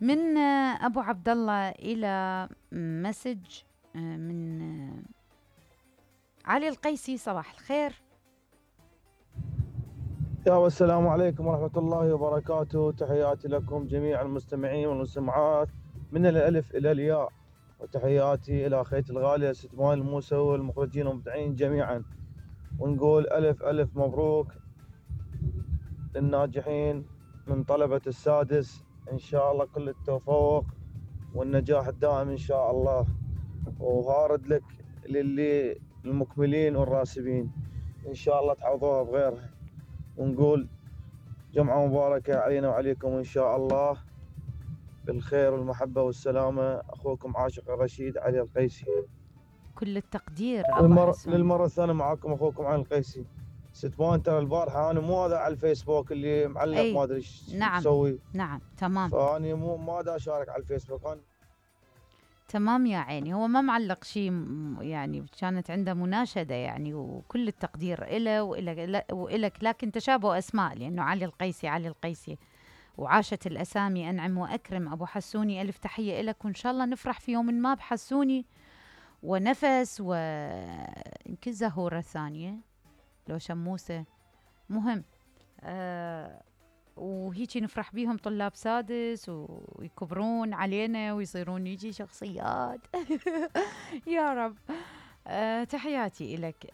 من ابو عبد الله الى مسج من علي القيسي. صباح الخير. السلام عليكم ورحمة الله وبركاته. تحياتي لكم جميع المستمعين والمستمعات من الألف إلى الياء، وتحياتي إلى أخيتي الغالية ست ماي الموسى والمخرجين والمبدعين جميعا، ونقول ألف ألف مبروك للناجحين من طلبة السادس، إن شاء الله كل التوفيق والنجاح الدائم إن شاء الله، وهارد لك للي المكملين والراسبين إن شاء الله تعوضوها بغيرها، ونقول جمعة مباركة علينا وعليكم إن شاء الله بالخير والمحبة والسلامة. أخوكم عاشق الرشيد علي القيسي. كل التقدير أبو حسون. للمرة الثانية معكم أخوكم علي القيسي. ست مان ترى البارحة أنا مو هذا على الفيسبوك اللي معلق ما أدري إيش تسوي. نعم تمام. فأني ما دا أشارك على الفيسبوك أنا. تمام يا عيني، هو ما معلق شيء يعني، كانت عنده مناشدة يعني، وكل التقدير إله وإلك، لكن تشابه أسماء لأنه علي القيسي علي القيسي، وعاشت الأسامي أنعم وأكرم. أبو حسوني ألف تحية إلك، وإن شاء الله نفرح في يوم ما بحسوني ونفس، ويمكن زهورة ثانية لو شموسة، مهم وهيجي نفرح بيهم طلاب سادس ويكبرون علينا ويصيرون يجي شخصيات. يا رب. تحياتي إلك.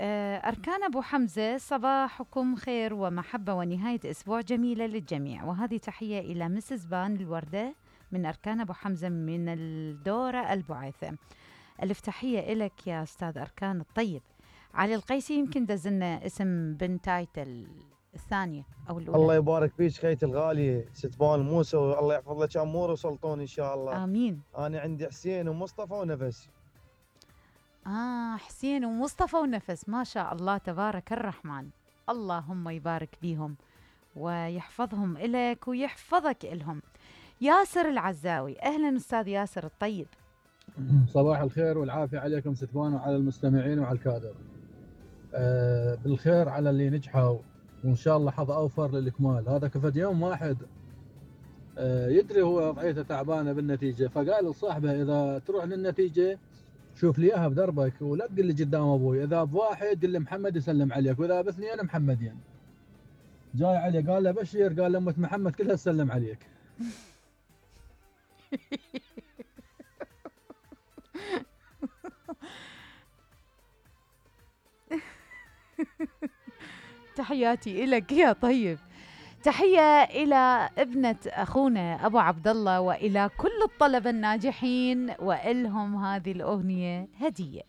أركان أبو حمزة، صباحكم خير ومحبة ونهاية أسبوع جميلة للجميع، وهذه تحية إلى مسز بان الوردة من أركان أبو حمزة من الدورة البعيثة. ألف تحية إلك يا أستاذ أركان الطيب. علي القيسي يمكن دزلنا اسم بنتايته الثانية أو الأولى. الله يبارك فيك خيتي الغالية ست بان موسى، والله يحفظ لك أمور وسلطون إن شاء الله. آمين. أنا عندي حسين ومصطفى ونفس. حسين ومصطفى ونفس، ما شاء الله تبارك الرحمن، اللهم يبارك بيهم ويحفظهم إلك ويحفظك إلهم. ياسر العزاوي، أهلا أستاذ ياسر الطيب. صباح الخير والعافية عليكم ستبان وعلى المستمعين وعلى الكادر. بالخير على اللي نجحوا، وإن شاء الله حظ أوفر للإكمال. هذا كفد يوم واحد يدري هو وضعيته تعبانة بالنتيجة، فقال لصاحبه إذا تروح للنتيجة شوف لي إياها بدربك، ولا تقول لي قدام أبوي، إذا بواحد قل لي محمد يسلم عليك، وإذا باثنين محمدين. جاي علي قال له بشير، قال له أمة محمد كلها تسلم عليك. تحياتي إلك يا طيب. تحية إلى ابنة أخونا أبو عبد الله وإلى كل الطلبة الناجحين، وإلهم هذه الأغنية هدية.